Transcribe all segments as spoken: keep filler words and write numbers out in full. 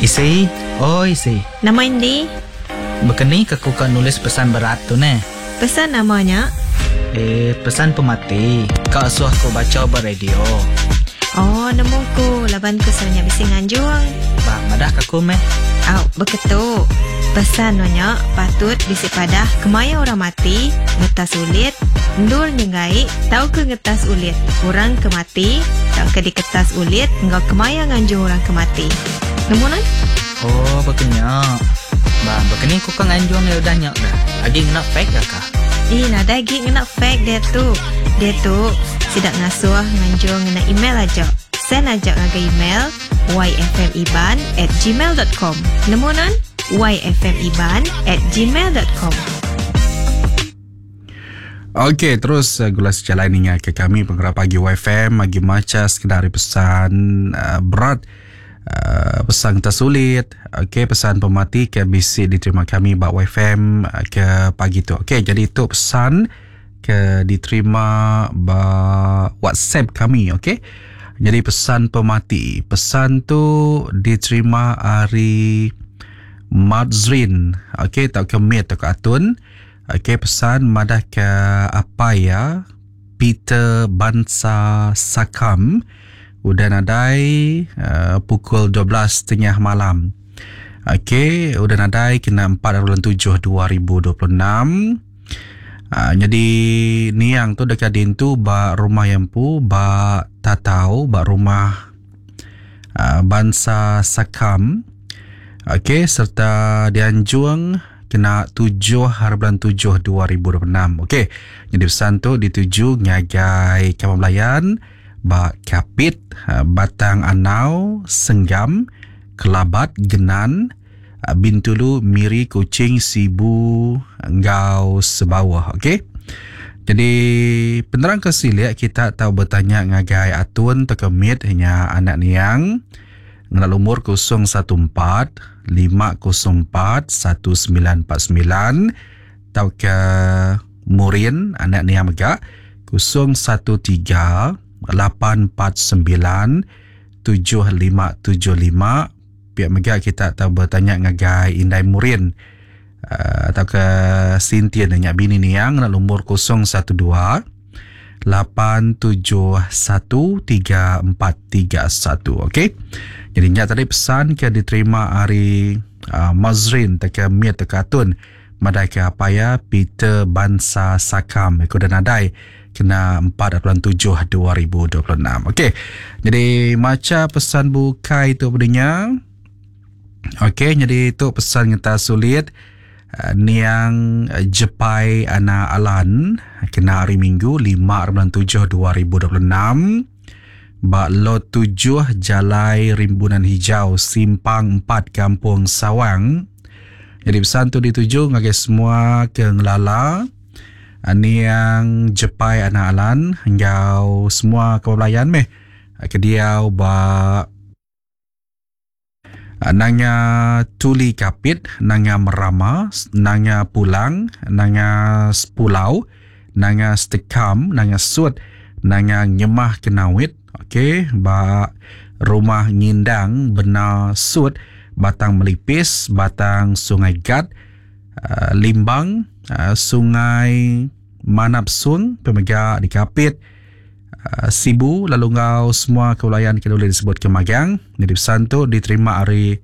Isi, oi isi. Nama indi? Bekeni ke ku ka nulis pesan berat tu neh. Pesan nama nya? Eh, pesan pemati. Ka asuh ku bacha ba radio. Oh, nemu ku laban ku selalu nya bisi nganjung. Ba, madah ka ku meh. Au, beketu. Pesan no nya patut bisi padah kemaya orang mati, ngetas ulit, endur nyenggai tauka ngetas ulit orang ke mati tauka diketas ulit enggau kemaya nganjung orang ke mati. Nemu nan? Oh, bekenya. Ba, bekeni ku ka nganjung iya udah nya dah. Agi ngena fax ga kah? Ih, nadai agi ngena fax diatu. Diatu, sida ngasuh nganjung ngena email aja. Send aja ngagai email yfmiban at gmail dot com. Nemu nan? yfmiban at gmail dot com. Okey, terus uh, gula sejalai ninga ke kami penggerak pagi Y F M agi macha sekedar pesan uh, berat uh, pesan tersulit. Okey, pesan pemati ke bisi diterima kami ba Y F M uh, ke pagi tu. Okey, jadi itu pesan ke diterima ba WhatsApp kami, okey. Jadi pesan pemati, pesan tu diterima hari Madzrin, okey, tau ke Mit tau ke Atun. Okey, pesan madah ke apa ya Peter Bansa Sakam udah nadai uh, pukul dua belas tiga puluh malam. Okey, udah nadai kena empat bulan tujuh dua ribu dua puluh enam. Uh, jadi niang tu dekat dintu ba rumah yang pu ba Tatau ba rumah uh, Bansa Sakam. Okey, serta dianjung kena tujuh hari bulan tujuh dua ribu dua puluh enam. Okey, jadi pesan tu dituju ngagai Kampung Belayan, ba Kapit, Batang Anau, Senggam, Kelabat, Genan, Bintulu, Miri, Kuching, Sibu, enggau Sebawah. Okey. Jadi penerang ke silik kita tahu bertanya ngagai Atun atau Mit hanya anak niang ngena lumur kosong satu empat lima kosong empat satu sembilan empat sembilan tau ke Murin anak niang mega kosong satu tiga lapan empat sembilan tujuh lima tujuh lima. Pihak mega kita tahu bertanya ngagai Indai Murin uh, atau ke Sintian nanya bini niang ngena lumur kosong satu dua lapan tujuh satu tiga empat tiga satu. Okey. Jadi nya tadi pesan ke diterima hari uh, Mazrin teka Mit teka Atun madai ke apa ya Peter Bansa Sakam ikut dan nadai kena empat bulan tujuh dua ribu dua puluh enam. Okey. Jadi maca pesan bukai tu berinya. Okey, jadi tu pesan kita sulit uh, niang Jepai Ana Alan kena hari Minggu lima bulan tujuh dua ribu dua puluh enam ba lot tujuh Jalai Rimbunan Hijau Simpang empat Kampung Sawang. Jadi pesan tu dituju ngagai semua ke ngelala niang Jepai Ana Alan enggau semua kebelayan meh ke diau ba Nanga Tuli Kapit, Nanga Merama, Nanga Pulang, Nanga Sepulau, Nanga Stekam, Nanga Sut, Nanga Nyemah Kenawit. Okey, ba rumah Ngindang, Bena Sut, Batang Melipis, Batang Sungai Gat, uh, Limbang, uh, Sungai Manap Sun, Pemega di Kapit, uh, Sibu, lalu ngau semua keulayan kita boleh disebut Kemagang. Jadi pesan tu diterima hari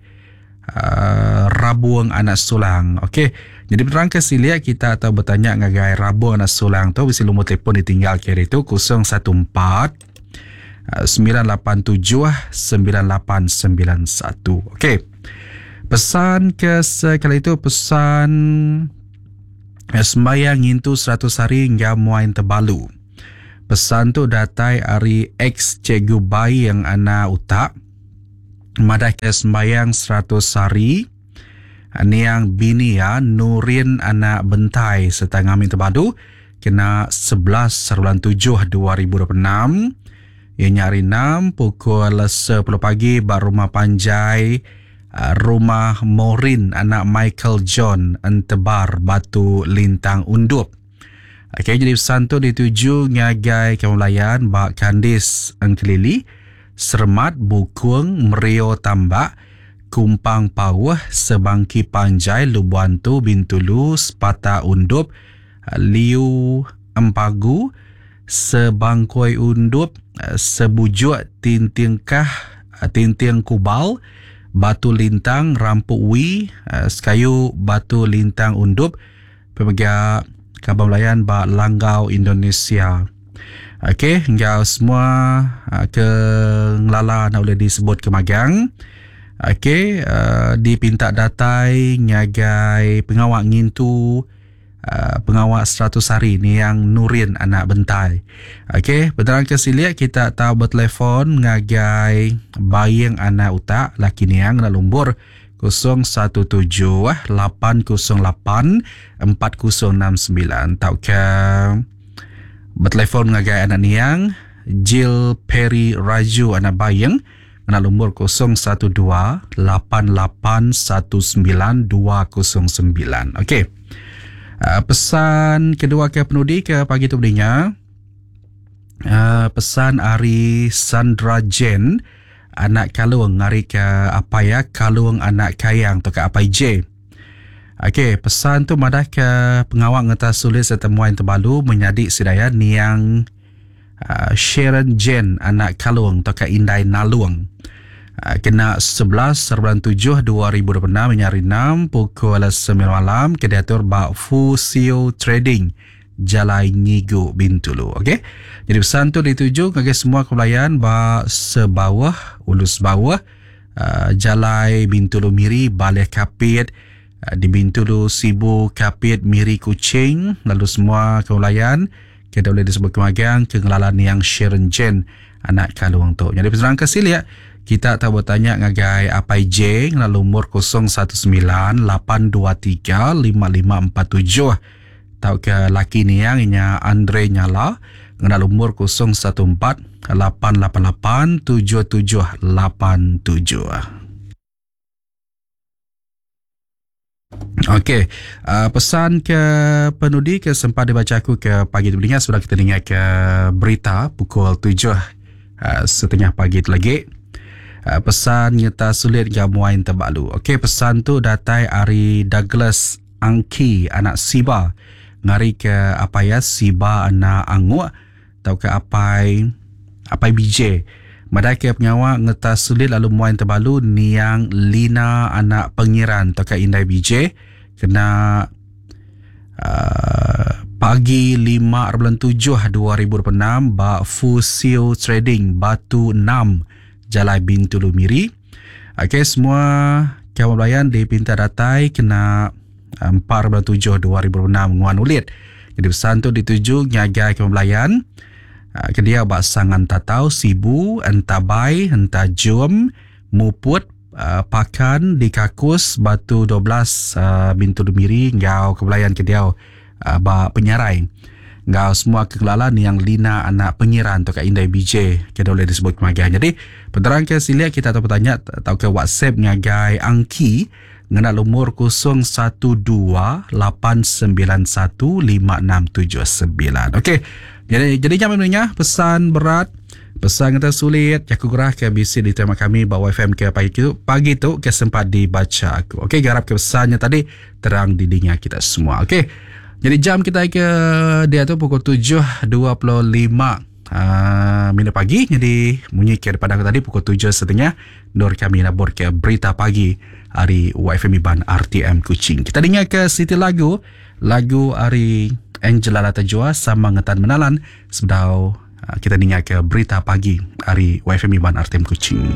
uh, Rabuang Anak Sulang. Okey, jadi penerang ke silia kita atau bertanya ngagai Rabuang Anak Sulang tu bisi lumur telefon ditinggal kiri tu kosong satu empat sembilan lapan tujuh sembilan lapan sembilan satu. Okey. Pesan ke sekali itu pesan sembahyang ngintu seratus hari hingga muain terbalu. Pesan tu datai hari ex cikgu bayi yang anak utak. Madah ke sembahyang seratus hari niang bini ya Nurin anak Bentai serta ngamin terbadu kena sebelas bulan tujuh dua ribu dua puluh enam. Ianya hari enam pukul sepuluh pagi ba rumah panjai rumah Morin anak Michael John Entebar Batu Lintang Undup. Okey, jadi pesan tu dituju ngagai kaum layan ba Kandis Engkelili, Sermat Bukung Merio Tambak, Kumpang Pauh, Sebangki Panjai, Lubuantu, Bintulu, Sepata Undup, Liu Empagu, Sebangkoi Undup, Sebujuk Tintingkah, Tinting Kubal, Batu Lintang, Rampu Wi, Sekayu Batu Lintang Undup, pemega Kabang Belayan ba Langgau Indonesia. Okey, enggau semua ke ngelala nak boleh disebut ke magang. Okey, uh, dipinta datai ngagai pengawak ngintu uh, pengawak seratus hari ni yang Nurin anak Bentai. Okey, penerang ke siliak kita tahu bertelefon ngagai Baying anak utak laki niang nak lumbur kosong satu tujuh lapan kosong lapan empat kosong enam sembilan tau ke bertelefon ngagai anak niang Jill Perry Raju anak Baying anak lumur kosong satu dua lapan lapan satu sembilan dua kosong sembilan. Okey. Uh, pesan kedua ke penudi ke pagi tu belinya. Uh, pesan ari Sandra Jen anak Kalung ngari ke apa ya Kalung anak Kayang atau ke apa J. Okey, pesan tu madah ke pengawak ngetas sulit setemuan terbalu menyadik sidaya niang Uh, Sharon Jen anak Kalung atau ke Indai Nalung. Uh, kena sebelas bulan tujuh dua ribu dua puluh enam menyari enam pukul sembilan malam ke diatur bak Fusio Trading Jalai Ngigu Bintulu. Okey. Jadi pesan tu dituju kepada semua kebelayan bak sebawah Ulus bawah uh, Jalai Bintulu Miri Balai Kapit uh, di Bintulu Sibu Kapit Miri Kuching, lalu semua kebelayan kita boleh disebut kemagang kengelalan yang Sharon Jen anak Kalung tu. Jadi peserang kesiliak kita tahu bertanya ngagai Apai J lalu umur kosong satu sembilan lapan dua tiga lima lima empat tujuh tau ke laki ni yang inya Andre Nyala ngena umur kosong satu empat lapan lapan lapan tujuh tujuh lapan tujuh. Okey, uh, pesan ke penudi ke sempat dibaca aku ke pagi tu beringat sudah kita dengar ke berita pukul tujuh uh, setengah pagi tu lagi. Uh, pesan nyata sulit gamuain terbalu. Okey, pesan tu datai ari Douglas Angki anak Siba. Ngari ke apa ya Siba anak Anguk atau ke apai apai B J. Madai ke pengawa ngetas sulit lalu muain terbalu niang Lina anak Pengiran atau ke Indai B J kena uh, pagi lima bulan tujuh dua ribu dua puluh enam ba Fusio Trading Batu enam Jalai Bintulu Miri. Okey, semua kawan belayan dipinta datai kena empat bulan tujuh dua ribu dua puluh enam nguan ulit. Jadi pesan tu dituju ngagai kawan belayan kedia bak Sangan Tatau, Sibu, Entabai, Entajum, Muput, uh, Pakan, di Kakus, Batu dua belas, uh, Bintulu Miri, ngau kebelayan kedia uh, bak Penyarai. Ngau semua kegelalan yang Lina anak Pengiran atau Kak Indai B J kita boleh disebut kemagian. Jadi penerang ke silia kita atau bertanya atau ke WhatsApp ngagai Angki ngena lumur kosong satu dua lapan sembilan satu lima enam tujuh sembilan. Okey. Jadi jadi jam sebenarnya pesan berat, pesan kata sulit, aku gerah ke B C di tema kami bawa F M ke pagi tu, pagi tu ke sempat dibaca aku. Okey, garap ke pesannya tadi terang di dinga kita semua. Okey. Jadi jam kita ke dia tu pukul tujuh dua puluh lima uh, minit pagi. Jadi bunyi ke daripada aku tadi pukul tujuh setengah nur kami labur ke berita pagi hari Y F M Iban R T M Kuching. Kita dengar ke siti lagu, lagu hari Angela Latajua sama ngetan menalan sebedau kita dengar ke berita pagi hari Y F M Iban R T M Kuching.